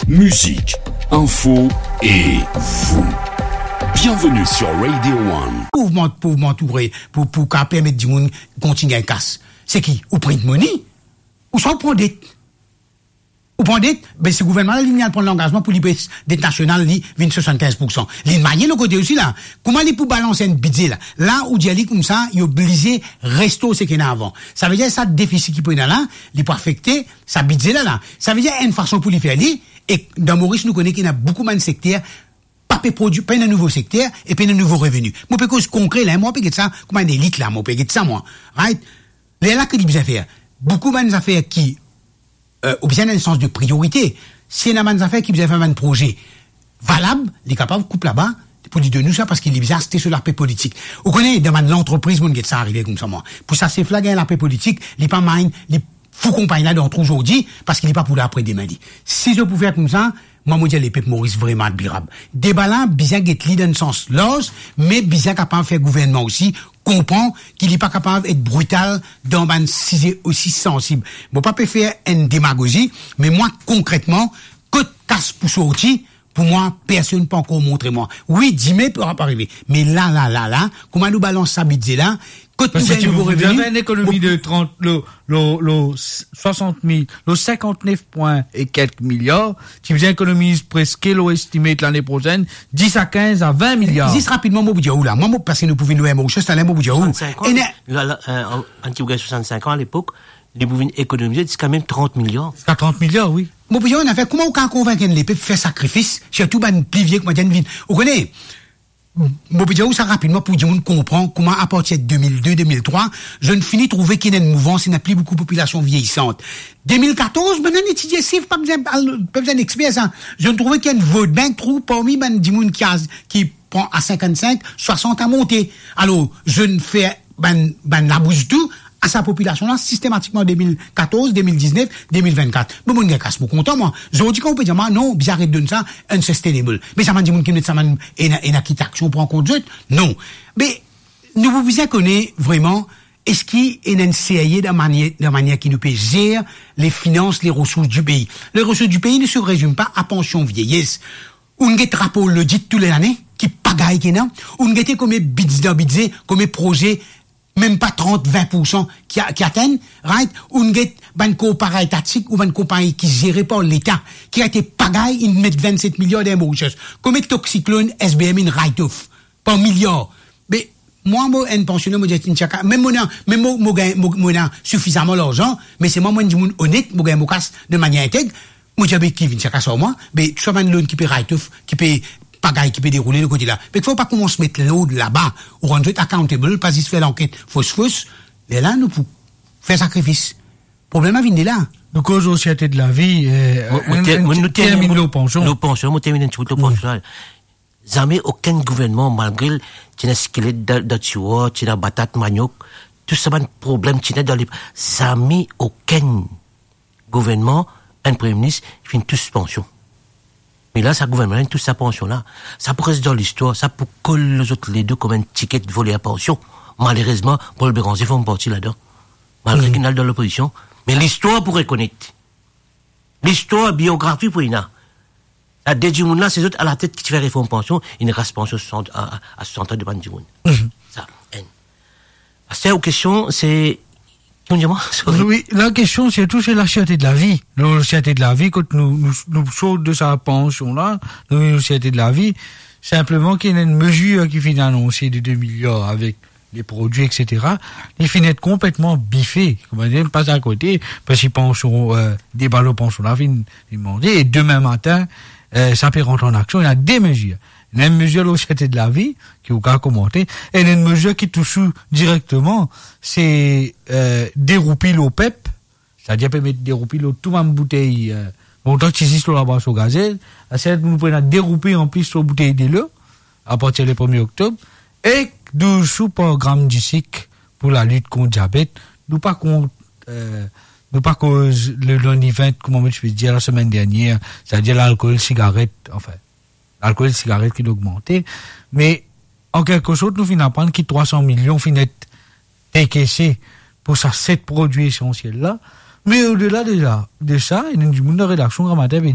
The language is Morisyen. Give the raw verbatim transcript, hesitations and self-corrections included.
Musique, info et vous. Bienvenue sur Radio One. Pou mont-, pou montre, pou, pou ka permet dimoun kontign kas. Se ki? Ou print money, ouswa ou pran det. Ou pran det, be, se gouvernman la, li, li al pran langazman pou li bes det nasional, li vinn swasannkinz poursan. Li manye lot kote osi la. Kouma li pou balans enn bidze la? La, ou dir li koumsa, li oblize restore seki ena avan. Savedir sa defisi ki pou ena la, li pou afekte sa bidze la la. Savedir enn fason pou li fer li, e dan Moris nou kone ki ena boukou bann sekter pa pe prodwi, pa ena nouvo sekter e pa ena nouvo reveni. Mo pe koz konkre la, mo pe get sa kouma enn elit la, mo pe get sa mwa. Right? Lerla ki li bizin fer? Boukou bann zafer ki, euh, ou bizin ena enn sans de priorite. Si ena bann zafer ki bizin fer bann proze valab, li kapav koup laba pou li donn nou sa, parski li bizin aste so lape politik. Ou kone, dan bann lantrepriz, mo'nn get sa arive koumsa mwa. Pou sa sef la gagn lape politik, li pa mind, li fou konpagn la dan trou zordi, parski li pa pou la apre demin li. Si zot pou fer koumsa, mwa mo dir lepep Moris vreman admirab. Deba la bizin get li dan enn sans larz, me bizin kapav fer gouvernman osi konpran ki li pa kapav et brital dan bann size osi sansib. Mo pa pe fer enn demagozi, me mwa konkretman, kot kas pou sorti, pou mwa, personn pa ankor montre mwa. Wi, dime pou, pou arive. Me la, la, la, la, kouma nou balans sa bidze la, kot nou gagn nouvo reveni? Parski ti pou gagn enn ekonomi de trant, lo, lo, lo swasant mil, lo sinkant-nef pwin e kelk miliar, ti bizin ekonomiz preske, lo estimate lane prosenn, dis a kinz a vin miliar. Zis rapidman, mo pou dir ou la. Mwa, mo, parski nou pou vinn lwen, mo, zis la, mo pou dir ou. Swasant-sink an, ena la, la, euh, an, an ti pou gagn swasant-sink an alepok, li pou vinn ekonomize ziska mem trant miliar. Ziska trant miliar, wi. Mo pou dir ou enn zafer, kouma ou kapav konvink enn lepep fer sakrifis, sirtou bann pli vie, kouma dir, vinn? Ou kone, mo pou dir ou sa rapidman pou dimoun konpran kouma, apartir de mil de, de mil trwa, zot inn fini trouve ki ena enn mouvans, ena pli boukou popilasion vieyisan. De mil katorz, bann inn etidie sif, pa bizin al, pa bizin exper sa. Zot inn trouve ki enn vote bank trou parmi bann dimoun ki a, ki pran a sinkant-sink, swasant a monte. Alor, zot inn fer bann, bann labous dou a sa popilasion la sistematikman de mil katorz, de mil diznef, de mil vennkat. Bon, mo'nn gagn kas, mo kontan mwa. Zordi kan ou pe dir mwa, non, bizin aret donn sa, unsustainable. Me sa bann dimoun ki met sa bann ena, ena ki tax pou pran kont zot? Non. Me nou pou bizin kone vreman, eski ena enn serye dan manier, dan manier ki nou pe zer le finans, le resours du pei. Le resours du pei ne se résume pas à pension vieillesse. Ou'nn get rapor lodit tou le lane, ki pagay ki ena. Ou'nn gete komie bidze dan bidze, komie proze, mem pa trant, vin poursan ki a-, ki atenn, right? Ou'nn get bann korpora etatik ou bann konpagni ki zere par Leta, ki rete pagay, inn met vennset miliar dan Mauritius. Komie tok siklonn, S B M inn write off par miliar. Be, mwa, mo enn pansioner, mo dir, vinn tir kas, mem mo ena, mem mo, mo gagn, mo, mo ena sifizaman larzan, me se mwa, mo enn dimoun onet, mo gagn mo kas de manier integ, mo dir, be, ki vinn tir kas ar mwa, be, swa bann loan ki pe write off, ki pe pagay, ki pe deroule de kote la. Be, fode pa koumans met lord laba, ou rann zot accountable, pa zis fer lanket fos fos, lerla nou pou fer sakrifis. Problem la vinn de la. Nou koz lo serte de lavi, euh, Mo, mo enn, ter-, enn mo, ti nou termin, termin mo, lo pansion. Lo pansion, mo termin enn ti bout lo pansion la. Zame okenn gouvernman, malgre ti ena skelet dan, dan tiroir, ti ena batat, maniok, tou sa bann problem ti ena dan le, zame okenn gouvernman, enn premie minis, finn tous pansion. Me la, sa gouvernman la, inn tous sa pansion la. Sa pou res dan listwar, sa pou kol lor zot ledo kouma enn tiket voler pansion. Malerezman, Paul Bérenger form parti ladan. Malgre ki inn al dan lopozision, me listwar pou rekonet. Listwar, biografi pou ena. Sa de dimoun la, se zot alatet ki ti fer reform pansion, inn ras pansion swasant, a, a, a swasant an de bann dimoun. Sa, enn. Aster, ou kestion, se, ki ou dir mwa? Sorry. Wi, la kestion, sirtou, se la serte de lavi. Lo serte de lavi, kot nou, nou, nou sort de sa pansion la, nou, nou serte de lavi, sinpleman ki ena enn mezir ki finn anonse de de miliar avek le prodwi, et cetera, li finn et konpletman bife, kouma dir, pas akote, parski pansion, euh, deba lo pansion la finn, finn mande, e demin matin, euh, sa pe rant an aksion, ena de mezir. Ena enn mezir lo serte de lavi, ki ou kapav komante, e ena enn mezir ki tous ou direkteman, se, euh, de roupi lo pep, setadir pe met de roupi lor tou bann boutey, euh, lontan ti zis lor labwason gazel, aster nou pou ena de roupi anplis lor boutey delo, apartir le premie oktob, ek douz sou par gram disik pou lalit kont diabet. Nou pa kont, euh, nou pa koz le, le nivent, kouma mo ti pe dir lasemenn dernier, setadir lalkol, sigaret, anfin, lalkol, sigaret ki inn ogmante, me an kelke sort, nou finn aprann ki trwa san milion finn et dekese pou sa set prodwi esansiel la. Me odela de la, de sa, ena enn dimoun dan redaksion gramatin pe